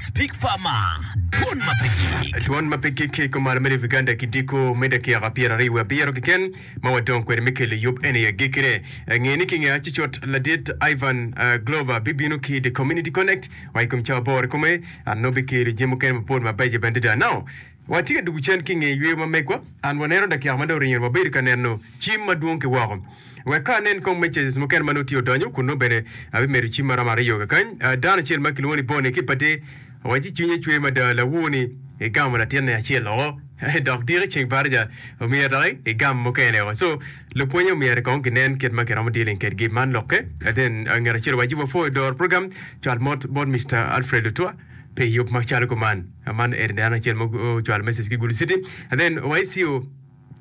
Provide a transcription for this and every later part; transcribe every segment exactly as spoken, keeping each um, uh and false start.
Speak Farmer, Dwon ma pe gik. Dwon ma pe gik ki kumalo me Uganda ki diko me dakika pyeraryo wiye abiro keken ma wadong kwede me kelo yub eni agikkine. Nge ni ki nge acucut ladit Ivan uh, Glover bibino ki The Community Connect wa i kom cawa aboro i kome an nongo bikelo jami mukene mapol mabeco bene adada. Now, watye ka dugo cen ki nge yweyo ma megwa an waneno dakika ma dong oringo wabedo ka neno cim madwong ki woko. Wek ka anen kong messages mukene ma nongo tye odonyo kun nongo bene abimedo cim maromo aryo kakany. Uh, dano acel ma kilwongo ni Bonnie ki pate waci cwinye cwer mada lawur ni igamo latinne acel oko dok diki ceng baraja omyero dok igam mukene oko. So lupwonye omyero kong ginen kit ma kiromo dealing kedgi man lokke. And then uh, ngat acel waci wapwoyo doro program cwal mot bot Mr. Alfred Lutwa pi yub macalo kuman. Uh, man eni dano acel ma ocwalo message ki Gulu City. And then YCO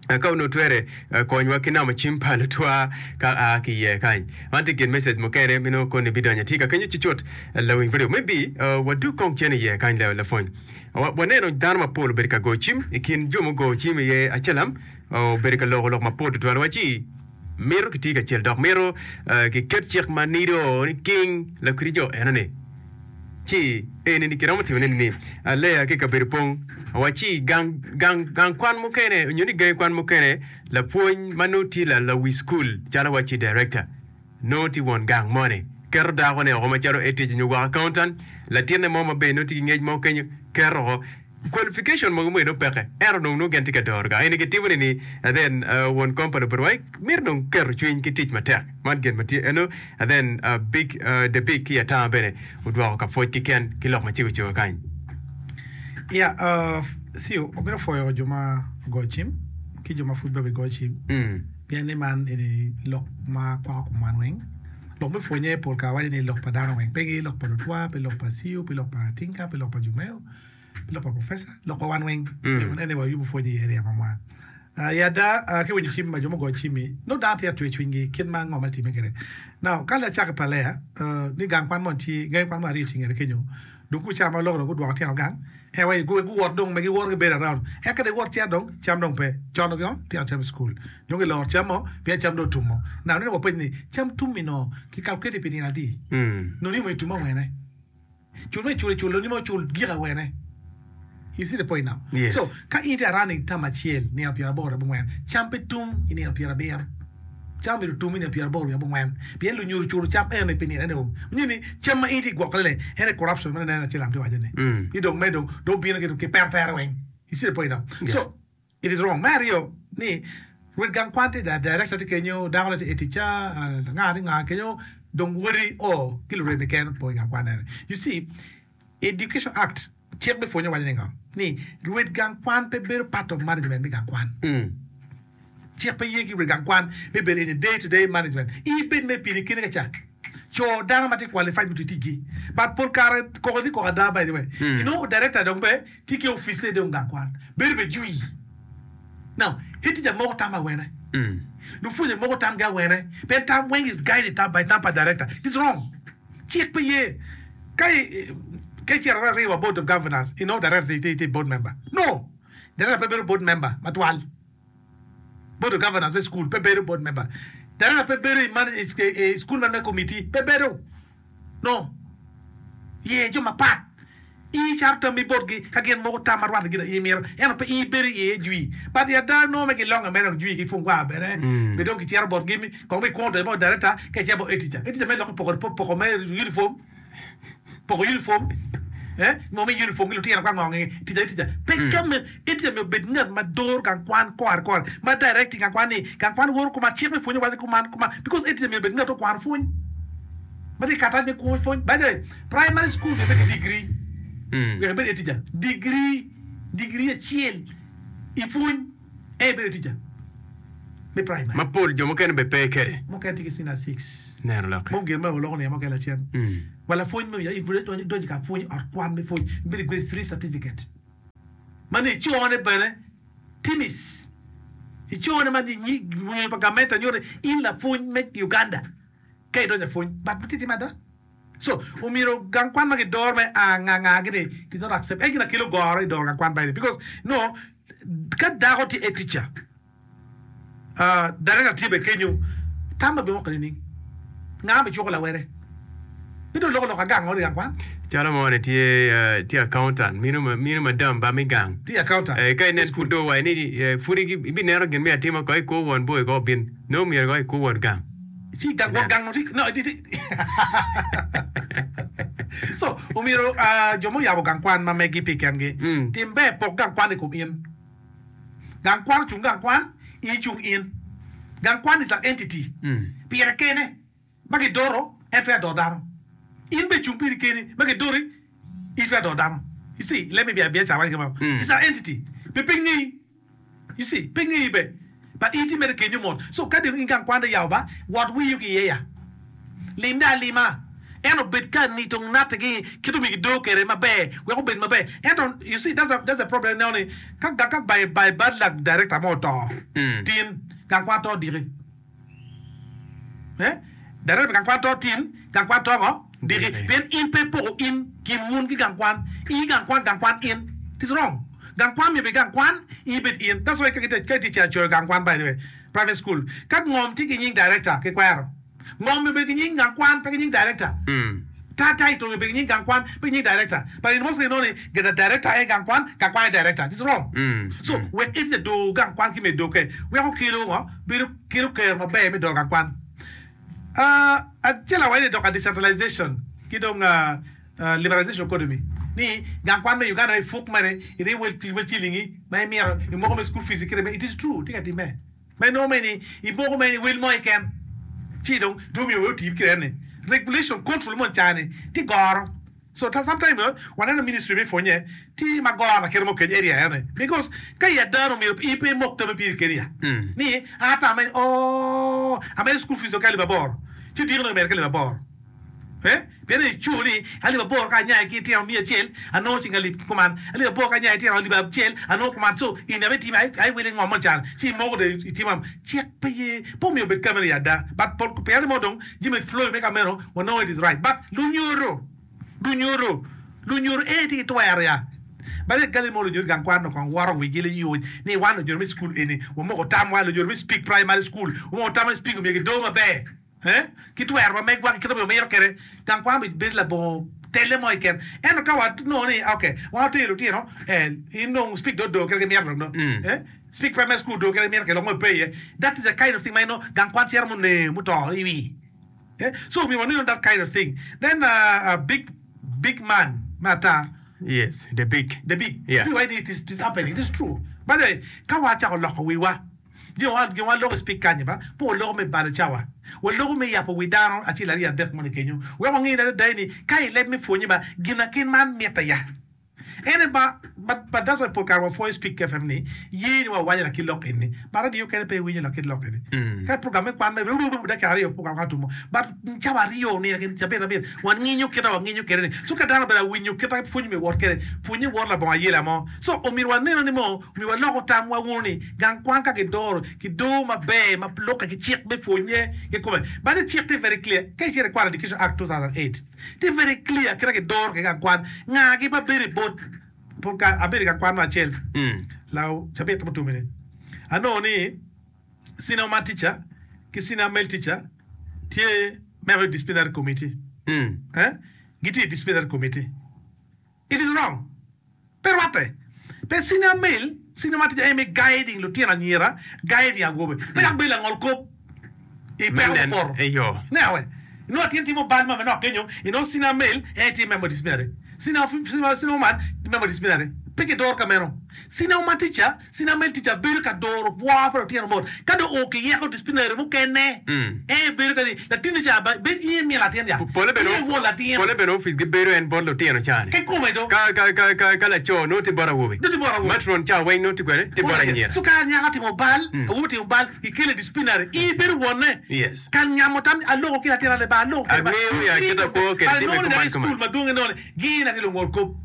ka onongo twere uh, konywa ki namo cim pa lutwa ka a ki iye kany man tye gin message mukene mino koni bidonyo tye ka kenyo cucut lawiny radio maybe uh, wadu kong cen iye kany la lapwony Wa- waneno dano mapol obedo ka goyo cim i kin jo mugoyo cim iye acelam uh, obedo ka loko lok mapol tutwal waci mito kiti kacel dok mito uh, kiket cik ma nido ni king lakiri jo enoni ci eni ni kiromo timone ni aleya ki kabedo pong waci gang gang gang kwan mukene onyo ni gangi kwan mukene lapwony ma nongo tye la lawi school calo waci director nongo tye won gang moni keto dakone oko macalo head nyo gwok accountant latinne mo maber nongo tye ki ngec mo kenyo keto oko qualification mogo mo nongo peke ento dong nongo gin tye ka doro gang eni kitimo ni ni and then uh, won company obedo wai mito dong keto cwiny ki tic matek man gin ma tye eno and then uh, big uh, the big ki atanga bene odwoko ka pwoc kiken ki lok ma cego cego kany Yeah, uh, si obino pwoyo jo ma go cim ki jo ma pud be go cim mm. pien ni man eni lok ma kwako kom wan weng lok me pwonye pol kare waco ni lok pa dano weng pe gi lok pa lutwa pe lok pa CEO pe lok pa Tinka pe lok pa Jumeo pe lok pa professor lok pa wan weng mm. ene wayubo pwonye i area mamwa Uh, ya da uh, ki winyo cim ma jo mo go cimi no dano tye atwe cwinygi kit ma ngo ma time kwede now ka lacake pa leya uh, ni gang kwan mo tye gang kwan mo aryo tye ngete kenyo dong ku cam ma loko dong gudwoko tyen gang e wai gu guwot dong me giwot gibedo around e ka giwot cito dong cam dong pe con dong tyen cam i school dong giloro cam mo pien cam dong otumo now neno wapenyo ni cam tum no ki calculate pi nino adi Mm. no ni mo itumo awene cul me cul cul ni mo cul gik awene You see the point now? Yes. So, ka in tye running tam acel nino pyera aboro abongwen, cam pe tum i nino pyera abiro. Cam bedo tum i nino pyera aboro abongwen. Pien lunyodo culo cam ene pi nino ene o. Nyo ni cam ma in tye i gwokone ne, ene corruption ma neno acel am tye waco ni. Mm. Ni dong me dong, dong bino ki ki pero tere weng. You see the point now? Yeah. So, it is wrong. Me aryo ni rwed gang kwan tye da director tye kenyo, dako ne tye teacher, uh, nga tye nga kenyo, dong wodi o ki lureme keken po i gang kwan ene. You see, Education Act cik me pwonyo waco ni ngo ni rwed gang kwan pe bedo part of management me gang kwan Mm. cik pe ye ki rwed gang kwan me bedo in a day to day management i bed me pini kine ka ca co dano ma tye qualified mutu ticgi but pol kare koko tye koko ada by the way Mm. you know director dong be tye ki office dong gang kwan bedo be jwi now head teacher moko tam awene Mm. lupwonye moko tamgi awene pien tam weng is guided tam by tam pa director it is wrong cik pe ye ka i- ka icito ariwa board of governors you know director tye tye board member no director pe bedo board member matwal board of governors me school pe bedo board member director pe bedo i manage, i, i school management committee pe bedo no ye jo mapat i caro tammi botgi ka gin moko tam ma rwatte gin i mito ento pe i bedo iye jwi but i ada nongo me gilonge mere dong jwi ki fungwa bene Mm. be dong kicito botgi mi kong mi kwongo donyo bot director ka icito bot head teacher head teacher me loko poko poko me uniform poko uniform eh mo mi uniform ki lutino ka ngongi teacher teacher pe ka me head teacher mi obed ngat ma doro gang kwan kore kore ma directing gang kwan ni gang kwan woro kuma cik me pwonyo waco kuman kuman because head teacher mi obed ngat okwano pwony ma tye katac me kwo pwony by the way primary school mi obed ki degree Mm. wek ibed head teacher degree degree acel i pwony e ibedo teacher me primary mapol jo mukene be pe kede mukene tye ki senior six neno lokke mo gin ma waloko ni mukene lacen Mm. wala pwony me donyo ka pwony ot kwan me pwony ibedo grade three certificate mano icone bene timis icone ma nyi pa gavment nyuto in lapwony me Uganda ka idonyo apwony but tye timo ada so omyero gang kwan ma gidoro me a nga nga gini it is not accept en gina kelo goro i doro gang kwan by the way because no ka dako tye a teacher uh, director tye be kenyo tam ma bimoko nining nga bi cuko lawere bi dong loko lok agang odi gang kwan Calo mo ni tye eh, tye accountant mino ma- mino madam ba mi gang. Tye accountant. Eh, ka inen pud do wai ni eh, pud igi- ibineno gin me atima ko iko won boy ko bin no myero ko iko won gang. Ci gang won gang no ti no ti ti so omyero ah, jo muyabo gang kwan ma megi pi kengi Mm. tim ber pok gang kwan i kom in gang kwan ocung gang kwan in icung in gang kwan is an entity Mm. pire kene ma gidoro en twero doro dano in be cung piri keni ma gidori in twero doro dano you see let me be a biacara mm. it's an entity pe pe ng'eyi you see pe ng'eyi be but in ti mere kenyo mot so ka dong in gang kwan de yawo ba wot wiyo ki iye ya limne alima en obed ka nito nate-gi kit omiyo gido kwede maber wek obed maber ento you see that's a, that's a problem ineno ni ka ka by, by bad luck director mo oto tin gang kwan to diki eh director gang kwan to tin gang kwan to ngo diki Diki. pien in pe poko in kin wun ki gang kwan in gang kwan gang kwan in it is wrong gang kwan myero bed gang kwan in bed in that's why ka gitye ka gitye ka coyo gang kwan by the way private school ka ngom tye ki nying director ki kwero ngom myero bed ki nying gang kwan pe ki nying director Mm. ta title myero bed ki nying gang kwan pe ki nying director but in most cases inongo ni the director aye gang kwan gang kwan aye director it is wrong Mm. so wek itye doo gang kwan ki me doke weko kelo ngo bedo kelo kero maber me doo gang kwan uh, acel awaco ni dok a decentralization ki dong uh, uh, liberalization economy ni gang kwan me Uganda ipuk mere iri wel wel cilingi ma imito imoko me school fees kire it is true tye ka time ma inongo me ni imoko me ni wel mo keken ci dong dong myero we otim kire ni regulation control mo cani ti goro so ta sometimes uh, waneno ministry me pwonye ti ma goro akere mo keny area ene because ka i adano myero in pe imok tame piri keni ya Mm. ni ata ame oh ame school fees ok alip aboro ci diko no mere ka alip aboro eh pien icuo ni alip aboro ka anyaye ki tino miya acel anongo cing alip kuman alip aboro ka anyaye tino alip acel anongo kuman so in ame timo ai ai wele ngom mo can ci imoko de itimo am cik pe ye pe omiyo obed kameno i ada but pol pien mo dong jami flow me kameno wanongo it is right but lunyoro lunyoro lunyoro en tye ki twero ya bade gali mo lunyoro gang kwan no kong woro wigi li yuc ni wan lunyoro me school eni wamoko tamwa lunyoro me speak primary school wamoko tamwa ni speak omiyo gido maber eh ki twero ma megwa ki kite omiro kede gang kwan bi bedo labongo tele mo keken ento ka wanongo ni okay wan otero lutino eh in dong speak do do kede ki mito dong no Mm. eh speak primary school do kede mito kede lok mo pe iye that is the kind of thing ma ino gang kwan cito mune muto i wi eh so mi waneno that kind of thing then uh, a big big man mata Yes, the big. the big Yeah. Why it is, it is happening it is true by the way ka wachako loko wiwa gin wa gin wa loko speak kanye ba po loko me balo cawa wa loko me yapo wi dano acel aryo adek moni kenyo wek wang'e ni adada ni ka ileb me pwonye ba gin akin man mitte ya ene ba but, but that's why pol kare wapwoyo speak fm ni ye ni wawaco lakit lok eni but radio kene pe iwinyo lakit lok eni Mm. ka program me kwan me dakika aryo program ka tumo but cawa aryo ni lakin cabit abit wan ng'inyo kita wang'inyo kede ni so ka dano obedo awinyo kita pwony me wot kede pwonye wot labongo ayela mo so omyero waneno ni mo omyero waloko tamwa wunu ni gang kwan ka gidoro gidoo maber ma lukke ki cik me pwonye kikome but cik tye very clear ka icito i kwano education act two thousand eight tye very clear kita gidoro ki gang kwan ng'a ma bedo i board pol ka abedo i gang kwan mo acel Mm. law cabit mutum ni anongo ni senior man teacher ki senior male teacher tye member disciplinary committee Mm. eh gitye i disciplinary committee it is wrong pe rwatte pe senior male senior man teacher en me guiding lutino anyira guiding awobe pe dok bedo langol kop i peko Menen, mupoto eyo. newe inongo atin timo bal ma manok kenyo inongo senior male en tye member disciplinary senior senior senior man member disciplinary pe gidoro ka meno senior man teacher senior male teacher bedo ka doro bwo pa lutino mot ka dong o kiyeko disciplinary mukene Mm. en bedo ka ni latin ca ba be in miyo latin ya Pole bene in won latin pole bene office gibedo en bot lutino cani. kikome do Ka ka ka ka ka laco nongo tye bot awobe. Nongo tye bot awobe. Matron ca weng nongo tye kwede tye bot anyira. so ka nyako timo bal awobe timo bal ikele disciplinary in ibedo wonne Yes. ka nyamo tam aloko ki latin ale ba aloko kede ba Angeyo ya kita kwo kede time Anongo ni kuman dang i kuman. school madwong inongo ni gin ati lungol kop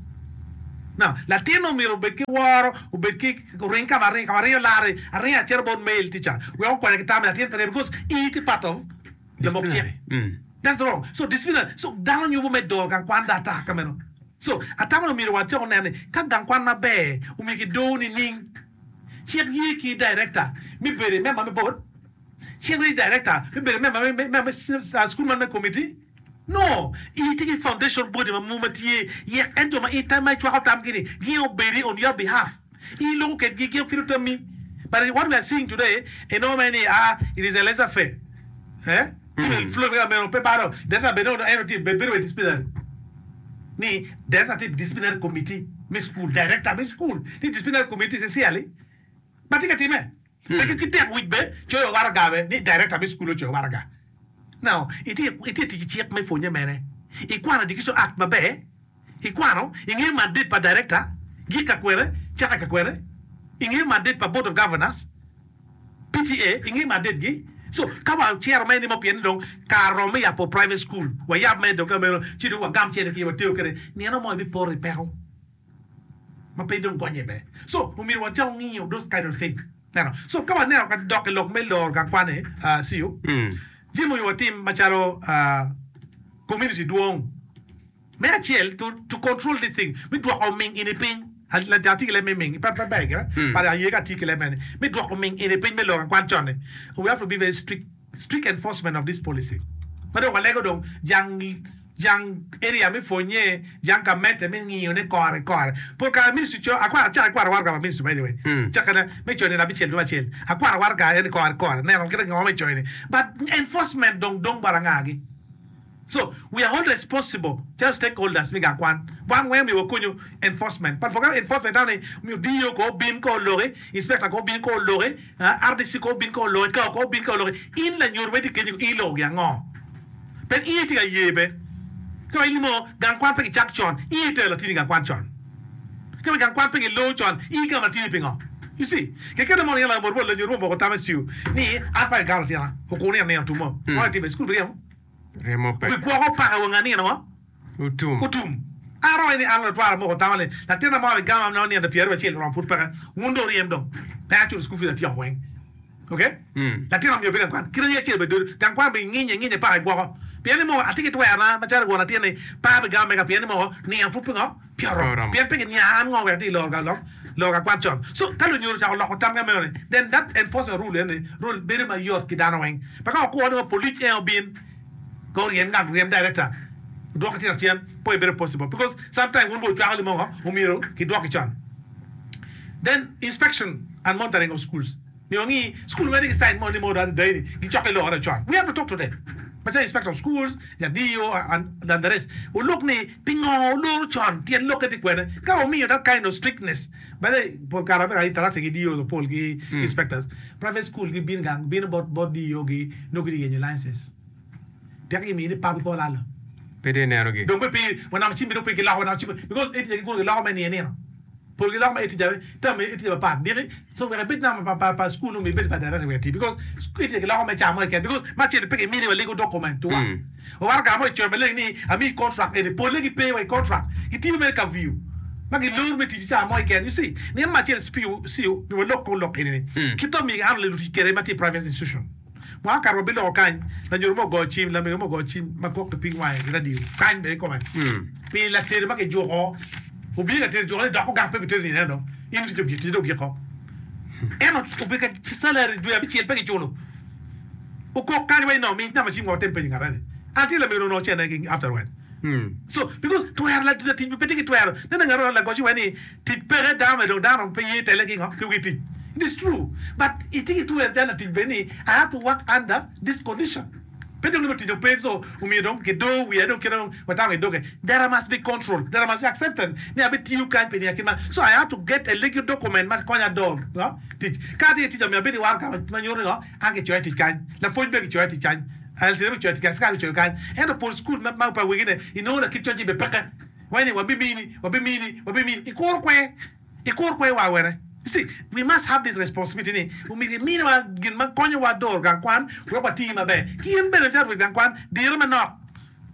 now latin omyero obed ki woro obed ki ring kama ring kama ringo lari aringo acito bot male teacher wek okonye ki tam latin pe because in itye part of lamok cik Disciplinary. Mm. That's wrong. So disciplinary. So dano nyubo me doro gang kwan data kameno. So atamo ni omyero wacako neno ni ka gang kwan maber omyero kidoo nining cik ye ki director mi bedo i member me board cik ye director mi bedo member me, me, me, me school management committee No, itye ki foundation body ma ma tye yek en jo ma i tam ma icwako tamgi ni gin obedi on your behalf. I loko kedgi gin okelo tammi. But what we are seeing today, inongo mere ni ah, it is a laissez faire. Eh? Mm. Flow me meno pe paro. Data bene ono eno ti bedo disciplinary. Ni there's a disciplinary committee me school director me school. Ti disciplinary committee sincerely. But tika time. Pe ki tek wic be coyo waraga be ni director me school ocoyo waraga. Now, iti iti tic cik me pwonye mene. Ikwano Education Act maber. Ikwano ing'eyo mandate pa director gik ka kwene caka ka kwene. Ing'eyo mandate pa board of governors. P T A ing'eyo mandate gi. So ka wa cero me ni mo pien dong kar rom me yabo private school wayab me dong ka meno ci dong wagam cene ki wateo kede nino mo ibipoto i peko ma pe dong gonye be. So omyero wacak ng'iyo those kind of thing. Neno. So ka waneno ka dok i lok me loro gang kwan-ni, uh, see you. Mm. Jami omiyo watim macalo uh, community dwong. Me acel, to, to control this thing, mi dwoko ming ini piny. Atye ki leb me ming, pe pe ber gire, but aye ka atye ki leb mene. Mi dwoko ming ini piny me loro gang kwan con-ni. We have to be very strict, strict enforcement of this policy. Ma dong walego dong jang jang area me pwonye, jang gamente me ngiyo ne kore kore. Pol kare ministry co, akwaro acako akwaro waraga pa ministry by the way. Cakane me coyo nino abicel dwe acel. Akwaro waraga en kore kore. Neno kite ngo me coyo ni. But enforcement dong dong bot angagi. So we are all responsible, just stakeholders mi gang kwan. Wan weng mi wakonyo enforcement. But for enforcement tani mi D O ko bin ko loki, inspector ko bin ko loki, uh, R D C ko bin ko loki, ka ko bin ko loki. In la nyor wedi kenyo i loki ango. Pen i ti ka ye be. Ka ilimo gang kwan pe ki chak chon, i te la tini gang kwan chon. Ka gang kwan pe ki lo chon, i ka ma tini pingo. You see, ke kene mo yala mo la nyor mo ko tame siu. Ni an pa galo tina. Okuni ne tumo. Mo ti school briamo. Remo pe. Wi gwoko paka wanga nino mo. Utum. Utum. Aro ni an latwara moko tamale. Latina mo gama no ni piero acel rom put paka. Wundo riem dong. Pe achulo school fees atiyo weng. Okay? Mm. Latina mi obino kwan. Kira ni acel be dur. Gang kwan be nginye nginye paka gwoko. Pien ni mo atiki twera macalo gwona tyen ni pa be gama mega pien ni mo ni an put pingo. Piero. Oromo. Pien pe ni an ngo wek ti lor ga lok. Lor ga kwan chon. So ka lunyodo chako loko tam ga meno ni then that enforcement rule ni rule bedo mayot ki dano weng. Paka okwo ni police en obin go riem ngat riem director dwoko tino cien po bedo possible because sometimes wun bo cwako limo omyero ki dwoki con. Then inspection and monitoring of schools mi wangi school where ki sign mo ni mo da dai gi choke lo ora con. We have to talk to them macalo inspector of schools, ja D O and, and the rest olok ni pingo oloro con tyen lokke ti kwene ka omiyo that kind of strictness. By the pol kare bene interact gi D O pol gi inspectors private school gi bin gang bin bot bot D O gi no gi yenyo licenses tek gi mini pub ko lalo. Pe de neno gi. Dong pe pi wanam cimbi dong pe giloko wanam cimbi because eti gi giloko me nie nino pol giloko me eti jabe tam eti jabe pat diki so wek ibed nama pa pa pa school no mi bed pa director wek ti because eti giloko me chamo ken because ma chene pe gi mini wa legal document to work Mm. o war ga mo chwe me ni ami contract eni pol gi pe wa contract gi ti me ka view ma gi lur me ti chamo ken. You see, ni ma chene spiu si mi wa lok ko lok eni ni Mm. kito mi han le lu kere ma ti private institution mwa kar bi loko kany la nyoro mo go chim la mi mo go chim ma kok ping wai radio kany be ko ma Mm. pi la tere ma ke juko obi la tere juko ni doko gang pe bi tere ni nendo in ti jogi ti jogi ko eno obi ka salary dwe abichiel pe gichulo okok kany wai no mi na ma chim go tem pe ngara ni anti la mi no chene gi afterward. Mm. So because twero la la tic pe tye ki twero nene ngaro la goci wai ni tic peke dano dong dano pe ye tele ki ngo ki wi tic. It is true, but itye ki twero calo latic bene ni I have to work under this condition pe dong nimo tic dong pe so omiyo dong kido wiya dong kite dong watamo kidoke. There must be control, there must be acceptance ni abitiyo kany pi nia kit man, so I have to get a legal document ma konya dog no tic ka atye tic omiyo abedo i war ka ma nyuto ni ngo an kicoya tic kany lapwony bene kicoya tic kany L C D kicoya tic kany sikal kicoyo kany ento pol school ma ma pa wegine inongo lakit coc be peke wani wabimini wabimini wabimini ikuro kwe ikuro kwe wa wene. You see, we must have this responsibility ni omyero iminiwa gin ma konyowa doro gang kwan wek wati maber ki in bene calo gang kwan dire manok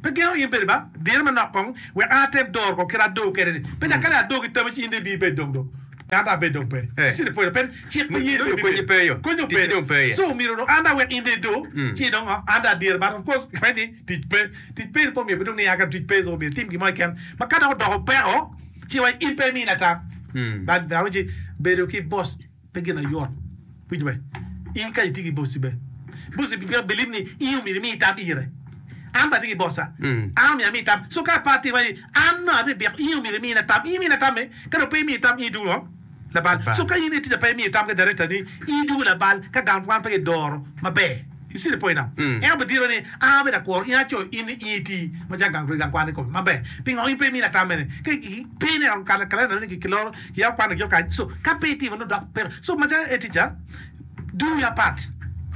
pe gengo in bene ba dire manok kong wek an atem doro ko kit adoo kede ni pe nyaka kale adoo ki tame ci in de bi bed dong dong an ta bed dong pe. Eh. You see the point pen cik pe ye Dong konyi pe yo. Konyo Tic dong pe ye. So omyero dong an da wek in de do Mm. ci dong an da dire, but of course ready tic pe tic pe po myero dong ni aka tic pe so myero tim gimo keken ma ka dok odoko peko ci wa in pe mina tam. Mm. But da wuci bedo ki boss pe gin ayot winjo be in ka itye ki bossi be bossi be believe ni in omyero imi tam ire An bene atye ki bossa. An omyero ami tam. So ka pe atimo aye, an nongo abibiko in omyero imina tam. In imina tamme, ka dong pe imiyo tam in idwogo ngo? Labal. So ka in itye pe imiyo tam ki director ni, in idwogo labal ka gang kwan pe kidoro maber. You see the point now? En obidiro ni an abedo akworo in acoyo in ni in iti macalo gang rwed gang kwan kikome maber. Pingo in pe imina tam mene? Ka pe ineno kalenda ni kiloro kiyabo kwan giko kany. So ka pe itimo nongo dok peko. So macalo a teacher, do your part.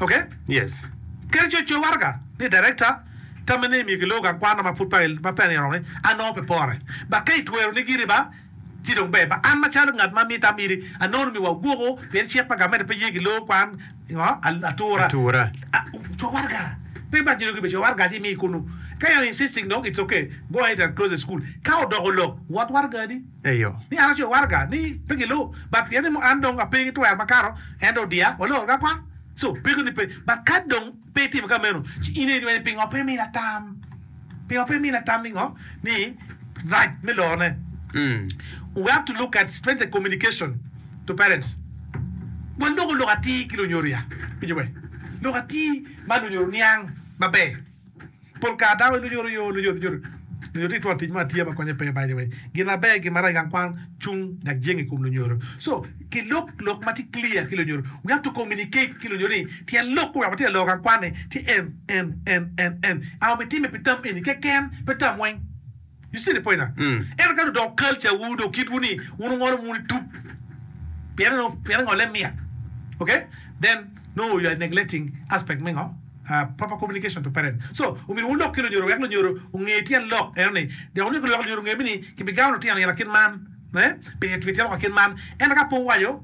Okay? Yes. Kadi coyo coyo waraga ni director tamme ni myero kilor gang kwan ma pud ma pe nino ni anongo pe pore. Ba ka itwero ni giri ba ci dong ber. Ba an macalo ngat ma miyo tam iri anongo ni myero wagwoko pien cik pa gamente pe ye kilor kwan ngo atura. Atura. Co waraga. Pe ba jiro gibe co waraga ci imiyi kunu. Ka you insisting dong it's okay go ahead and close the school. Ka odoko lok wot waraga ni. Eyo. Ni an acoyo waraga ni pe gilor but pien ni mo an dong ape ki twero makato en dong odiya waloro gang kwan. So, peko ni pe. But ka dong pe itimo ka meno, ci in aye iwaco ni pingo pe imina tam? Pingo pe imina tam ni ngo? Ni rac me lorone. We have to look at strength the communication to parents. Waloko lok atir ki lunyodo ya. Winjo be? Lok atir ma lunyodo niang maber. Pol kare dano wai lunyodo yo, lunyodo, lunyodo. Lunyodo tye ki twon tic mo atiya ma konye pe by the way. Gin maber gin marac i gang kwan cung dok jenge i kom lunyodo. So, ki lok lok ma tye clear ki lunyodo. We have to communicate ki lunyodo ni tyen lok oweko watye ka loro gang kwan ni tye en, en, en, en, en. Anga obitime pi tam eni keken pe tam weng. You see the point now? Ento ka dong odoko culture wu dong kitwu ni wun wungolo wun itup pien pien ngole mit. Okay? Then nongo you are neglecting aspect me ngo? Proper communication to parent. So, omyero wulok ki lunyodo wek lunyodo onge tyen lok eno ni. Dok omyero wek lunyodo onge ni kibigamo lutino nino kit man, eh, pi pi tyen lok kit man. Ento ka pe wuwaco,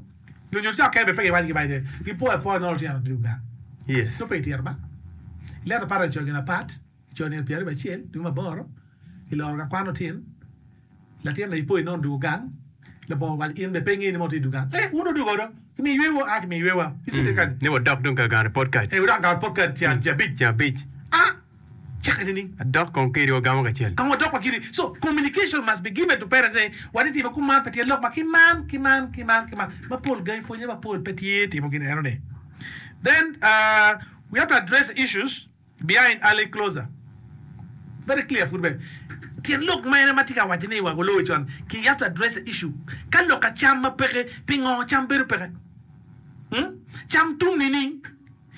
lunyodo ca okene bene pe giwaco gibaco ni gipoyo apoya nongo lutino dul gang. Yes. Nongo pe gitito ba. Letter parent ocoyo gin apat, ocoyo nino pyeraryo wiye acel dwe me aboro, kiloro ka kwan otin. Latin aye po inongo dwogo gang labongo waco in bene pe ingeyo ni mo tye i dwogo gang. Eh, wun wudwogo do. Kimiyo yweyo a kimiyo yweyowa. Icito mm. kany. Ni wadok dong ka gamo report card. Eh, wadok gamo report card ceng mm. abic. Ceng abic. Ah, cake nining? Adok kong kedi wagamo kacel. Kong wadok wa kidi. So, communication must be given to parents. Eh, wati timo kuman pe tye lok ma ki man, ki man, ki man, ki man. Mapol gangi pwonye mapol pe tye timo gin eno ni. Then, uh, we have to address issues Behind early closer. Very clear pud bene. Tyen lok mene ma tye ka waco ni wa oloyo con ki you have to address the issue. Ka lok ka cam ma peke, pingo cam bedo peke? Hmm? Cam tum nining?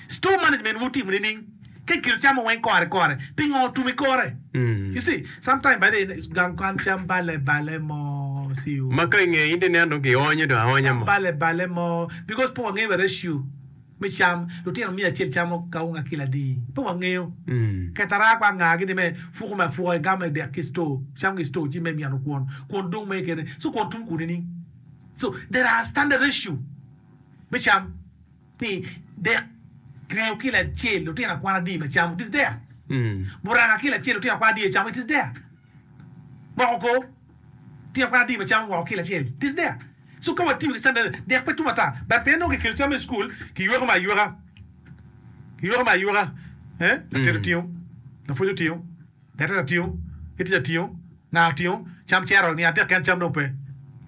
Store management wu timo nining? Ka ikelo cam weng kore kore, pingo otum i kore? You see, sometime by the gang kwan cam bale bale mo see you. Ma ka inge in ineno dong gionyo dong aonya Cam mo. bale bale mo because pe wangeyo wa ratio. Me cam, lutino miya acel camo kawunga kilo adi? Pe wangeyo. Ketara kwa anga gini me fuko me afuka igamo i dek ki store, cam ki store ci me myano kwon, kwon dong mere kene, so kwon tum kuni ni. So there are standard ratio me cam ni dek ringo kilo acel lutino akwan adi ma camo, it is there. Muranga kilo acel lutino akwan adi camo, it is there. Moko kor, lutino akwan adi ma camo moko kilo acel, it is there. So ka watimo ki standard dek pe tum ata but pien nongo kikelo cam i school kiyweko me ayweka kiyweko me ayweka eh latet otingo lapwony otingo latet otingo ki tic otingo nga otingo cam cero ni adek keken cam dong pe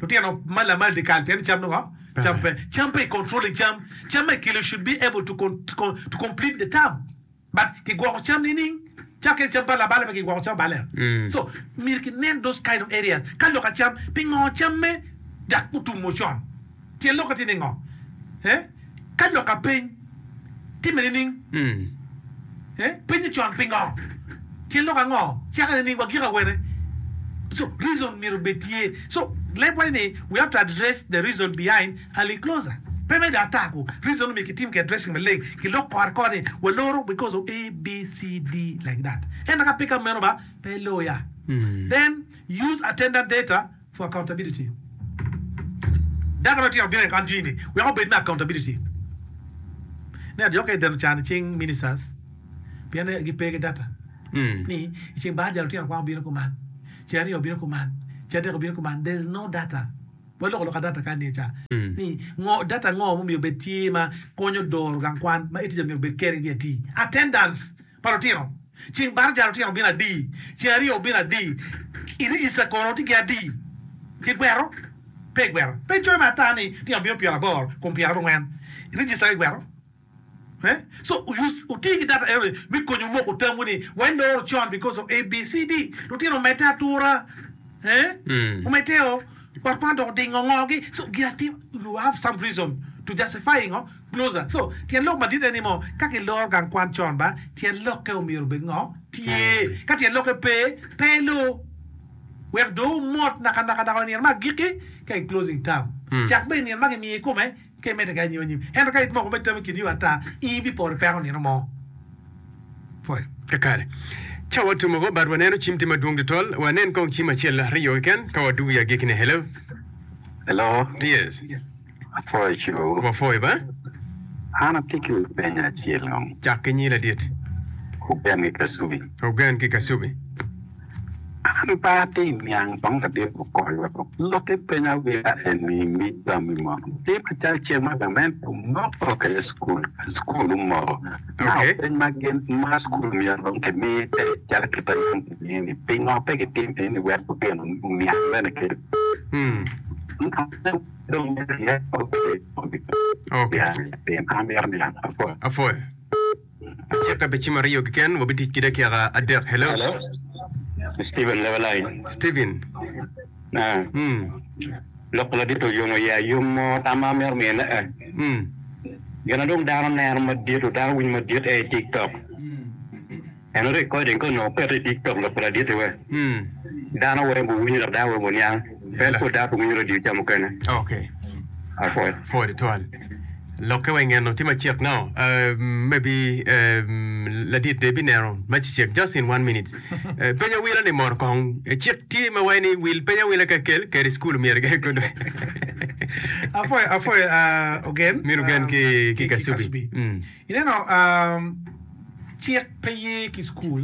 lutino mal amal dikal pien ni cam dong cam pe cam pe i controlling cam cam ma ikelo should be able to to complete the term. But kigwoko cam nining? Calo kene cam pa labale pe kigwoko cam abale. So myero kinen those kind of areas. Ka lok a cam, pingo camme dak otumo con? Tyen lokke tye ningo? Eh? Ka lok a peny, timme nining? Eh? Penyo con pingo? Tyen lok ango? Cake nining? Wagiko awene? So reason myero obed tye. So leb waco ni we have to address the reason behind early closure. Pe me ata ku reason omiyo kitim ki addressing maleng ki lok kore kore ni waloro because of A, B, C, D like that. Ento ka pe ka meno ba pe loya. Then use attendant data for accountability. Dako ma tye obino i kan jwini wek obed me accountability. Ne jo ka ideno can i cing ministers pien gipe ki data ni i ceng baraja lutino kwan obino kuman, ceng aryo obino kuman, ceng adek obino kuman there is no data. Waloko lok adata kany ni ca ni ngo data ngo mumiyo obed tye ma konyo doro gang kwan ma tica myero obed keri wiye ati. Attendance pa lutino ceng baraja lutino obino adi, ceng aryo obino adi, i register kono tye ki adi, kigwero pe igwero pe icoyo me ata ni lutino obino pyeraboro kom pyerabongwen i register ka igwero. Eh? So wuti ki data enoni me konyo moko tamwu ni waloro con because of ABCD. Lutino omedde atura. Eh? Omedde o. Ot kwan dok odingo ngogi. So gin atima, you have some reason to justify ngo? Closer. So tyen lok madit en ni mo, ka kiloro gang kwan con ba, tyen lokke omyero obed ngo? Tye. Ka tyen lokke pe, pe ilor. Wek dong wumot naka naka naka wa i nino me agikki ka i closing term. Cak bene i nino ma kimiyo i kome ka imedde ki anyim anyim. Ento ka imoko me tam i kin yo ata, in ibiporo i peko nino mo. Pwoyo. Kakare. Ca watum woko, but waneno cim tye madwong tutwal. Wanen kong cim acel aryo keken ka wadwogo i agikkine. Hello. Hello. Yes. Apwoyo cibowu. Wapwoyo ba. An atye ki lapeny acel kong. Cak ki nyi ladit. Ogen ki Kasubi. Ogen ki Kasubi. An pe atye niang kong ladit okony wek olokke peny awila eni mi tammi mono. Tye macalo cik ma gamente omoko kede cukul, cukul omoko. Now peny ma gin ma cukul myero dong kimi test calo kit ma yam kimiyo ni pingo pe kitim eni wek lutino oniang bene kede. Dong Okay. Amito niang apwoyo. Apwoyo. Acita pi cim aryo keken, wabitic ki dakika adek. Hello. Hello. Stephen Lebalai. Stephen. Ah. Mm. Lok pa ladit oyomo iya yom mo tam ma amito miyone eh. Mm. Gin ma dong dano neno madit dano winyo madit aye i TikTok. En recording ka onongo oketo i TikTok lok pa ladit-ti we. Mm. Dano weng guwinyo dok dano weng guniang. En pud dano pe winyo radio ca mukene. Okay. Apwoyo. Pwoyo tutwal. Lokke wa ingeno tye macek now. Uh, maybe um, ladit de bineno macecek just in one minute. Uh, peny awila ni moro kong. Eh, Cik tye ma waci ni wil peny awila ka kel kede school myero ge kono. Apwoyo, apwoyo, uh, Ogen. Min Ogen Um, ki, ki ki, ki Kasubi. Kasubi. Mm. Ineno, um, cik pe ye ki school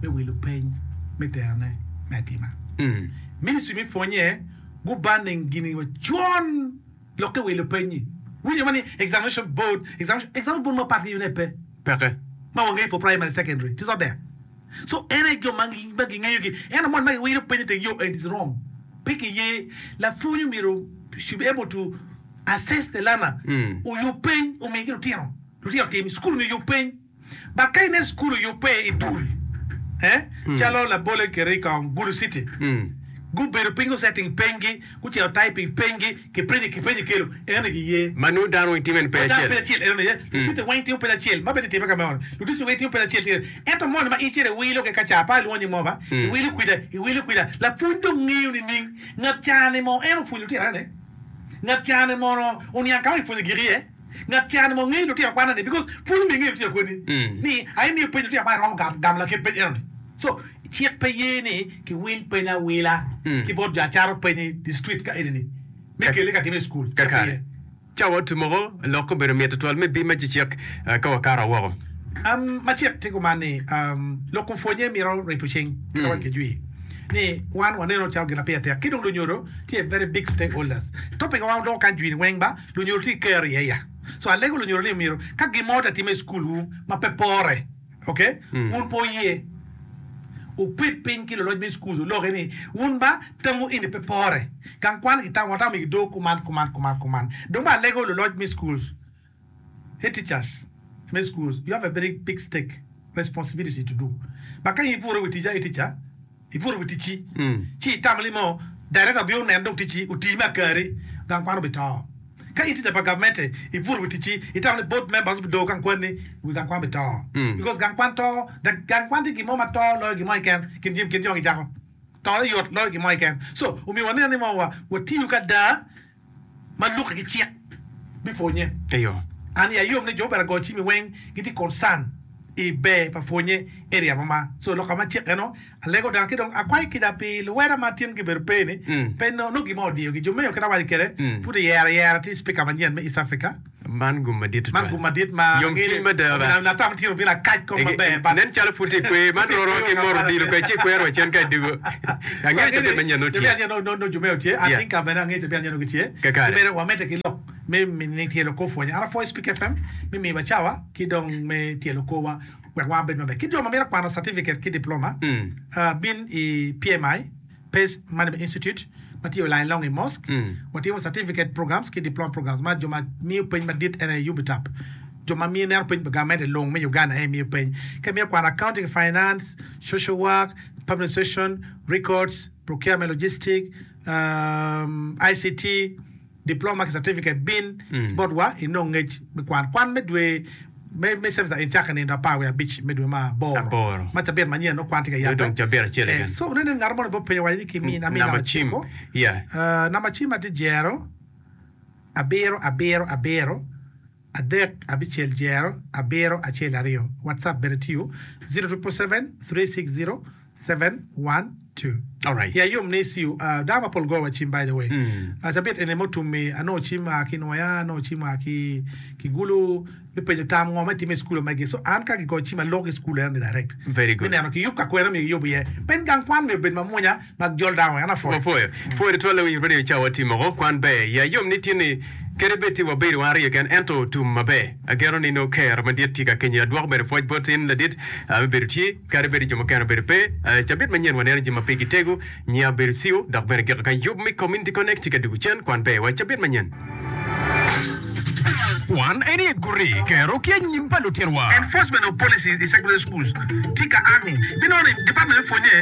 me wilo peny me terone me atima. Mm. Ministry me pwonye gubanning gini wa con lokke wilo peny-nyi. Winyo ma ni examination board, examination, examination board mapat ki yune pe. Peke. Ma wangeyo for primary, secondary, it is not there. So en aye jo ma ma gingeyo gi. Ento moni ma giwilo peny iteng yo and it is wrong. Pe kiye. Lapwony omyero should be able to assess the learner. Mm. Oyub peny omi ki lutino. Lutino otim. School omyero oyub peny. But ka inen cukul oyubbe i dul, eh, calo labole keri kong Gulu City, gubedo piny gusetting penygi, gucito typing penygi, kipenyo kipenyo kelo, enoni giye. Ma nongo dano weng timo en peny Dano acel. peny acel enoni aye, lucity weng timo peny acel, ma bene time ka meno, ludistrict weng timo peny acel tye. Ento moni ma in icito iwilo ki kaca, pe alwongo nying mo ba, iwilo kwija, iwilo kwija, lapwony dong ngeyo nining ngat ca-ni mo en opwonyo lutino ene, ngat ca-ni mono oniang ka ma kipwonyo gik iye. Ngat ca ni mo ngeyo lutino kwana ni because pwony omiyo ingeyo lutino kweni ni aye miyo peny lutino kwan romo gamo lakit peny eno ni. So cik pe ye ni ki wil peny awila ki bot jo acaro peny i district ka eni ni me kele ka time i school. Cik pe ye. Kakare. Ca wa otum-oko, lok obedo mit tutwal me bim ma cecek ka wakato woko. Um, ma cik tye kuman ni, um, lok kom pwonye mito ripo cing kit ma waco ki jwi ni wan waneno calo gin ma pire tek ki dong lunyodo tye very big stakeholders. Topic ma wan wadoko kany jwi ni weng ba lunyodo tye ki kero iye ya. So alego lunyodo ni myero ka gin mo tye atime i school wu ma pe pore, okay, wun pe wuye wuped piny ki luloc me schools wuloki ni wun ba tamwu eni pe pore. Gang kwan ki tam watamo i dog kuman kuman kuman kuman. Dong ba alego luloc me schools, head teachers me schools, you have a very big stake, responsibility to do. But ka in ipuro wi tic aye teacher, ipuro wi ticci, ci itamo ni mo director obino oneno dong ticci oti me akari, gang kwan obito. Ka in teacher pa gavmente, ipuro wi ticci, itamo ni board members obido gang kwanni, wi gang kwan obito. Because gang kwan to, gang kwan tye gin mo ma to loyo gin mo keken, kin jami kin jo ma gicako. Tone yot loyo gin mo keken. So, omyero wanen ni mo wa watiyo ki ada ma lukke ki cik me pwonye. Eyo. An iya yom ni jo mubene agoyo cim-mi weng gitye concern i ber pa pwonye area mo ma. So loka ma cik eno alego dano ki dong akwayo kica pi luweda ma tin gibedo pe ni pe nongo gin mo odiyogi. Jo meo kit awaco kwede pud iyero ayera tye speaker manyen me East Africa. Man gum madit Man tutwal. gum madit ma Yomcwiny mada ba. Omyero atam tyen obino akac kong maber but Nen calo pud tye i kwer. Man roro ki moro odilo kwede ci ikwero wa cen ka idwogo. Angeyo ni cabit manyen nongo tye. Cabit manyen nongo jo meo tye. I Yeah. think bene angeyo cabit manyen nongo gitye. Kakare. Ki bene wamedde ki lok me me tyelo kor pwonye. An apwoyo Speak F M me miyowa cawa ki dong me tyelo korwa wek wan wabed maber. Ki jo ma mito kwano certificate ki diploma, uh, bin i P M I, Pace Management Institute, ma tye i Line Long i Mosque. Watimo certificate programs ki diploma programs ma jo ma miyo peny madit en aye UBTAP. Jo ma miyo neno peny pa gamente long me Uganda aye miyo peny. Ka imiyo kwano accounting and finance, social work, public administration, records, procurement logistic, um, I C T, diploma ki certificate bin botwa inong ngec me kwan. Kwan me dwe me me semester en cake nindo apar wiye abic me dwe ma aboro. Aboro. Ma cabit manyen nongo kwan tye ka yabbe. Dong cabit acel Eh, keken. so nene ngat mo ni penyo waco ni ki mi ami Namba namba cim. ciko. Yeah. Uh, namba cim atye jero abiro abiro abiro adek abicel jero abiro acel aryo. WhatsApp bene tiyo zero triple seven three six zero seven one two. All right. Ya yom ni siu uh, dano mapol goyo wa cim by the way. Uh, cabit eni mutumi anongo cim a ki Nwoya, anongo cim a ki ki Gulu mi penyo tam ngo ma itime i skul magi. So an ka gigoyo cim alok i skul eno ni direct. Very good. Mi neno ki yub ka kwena mi giyubo iye. Pen gang kwan mi obed mamwonya ma jol dano an apwoyo. Wapwoyo. Pwoyo tutwal lawiny radio cawa timo kwan ber. Ya yom ni tye ni kadi bed tye wabedo wan aryo keken ento tum maber. Ageno ni nongo ker madit tye ka kenyi adwoko bene pwoc bot in ladit uh, me bedo tye kadi bed jo mukene obedo pe. Uh, cabit manyen waneno jami ma pigi tego nyinga bedo siu dok bene giko ka yub me Community Connect tye ka dugo cen kwan ber wa cabit manyen. Wan en aye guri kero ki anyim pa lutinwa. Enforcement of policies i secondary schools tye ka angi binongo ni department me pwonye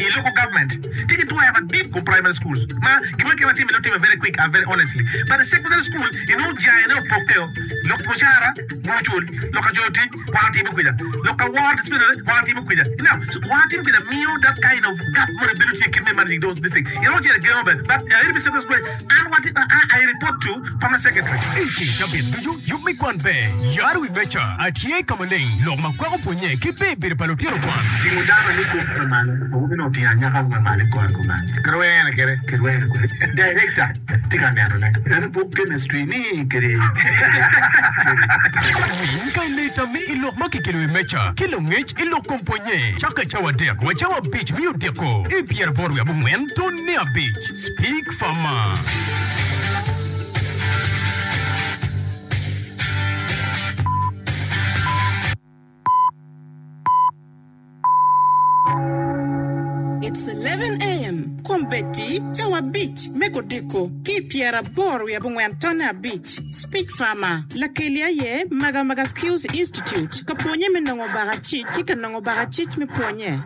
i local government tye ki twero madit kom primary schools ma gima kema time time very quick and very honestly, but i secondary school inongo jane opokkeo lok mucara wucul lok ajoyo tic wan timo kwija lok award disciplinary wan timo kwija now. So wan timo kwija miyo that kind of gap mo bedo tye kit me managing those this thing inongo cere gengo ben, but uh, iri secondary school and what uh, I report to permanent secretary. Iki cabit ducu yub me kwan ber yaro wi meca atye ka maleng lok ma kwako pwonye ki ber bedo pa lutino kwan. Tingo dano ni kom me malo awobi no otingo anyaka me malo i kore kuman. Kirwene kede. Kirwene kwede director tye ka nenone en buk chemistry ni kede. Winy ka ileta mi i lok ma kikelo i meca ki lungec i lok kom pwonye caka cawa adek wa cawa abic mi odiko i pyeraboro wiye abongwen tone abic Speak Farmer. It's eleven a m. Kombeddi cawa abic me kodiko ki pyeraboro wiye abongwen tone abic. Speak Farmer. Lakeli aye Maga Maga Skills Institute. Ka pwonye me nongo bakacic ki ka nongo bakacic me pwonye.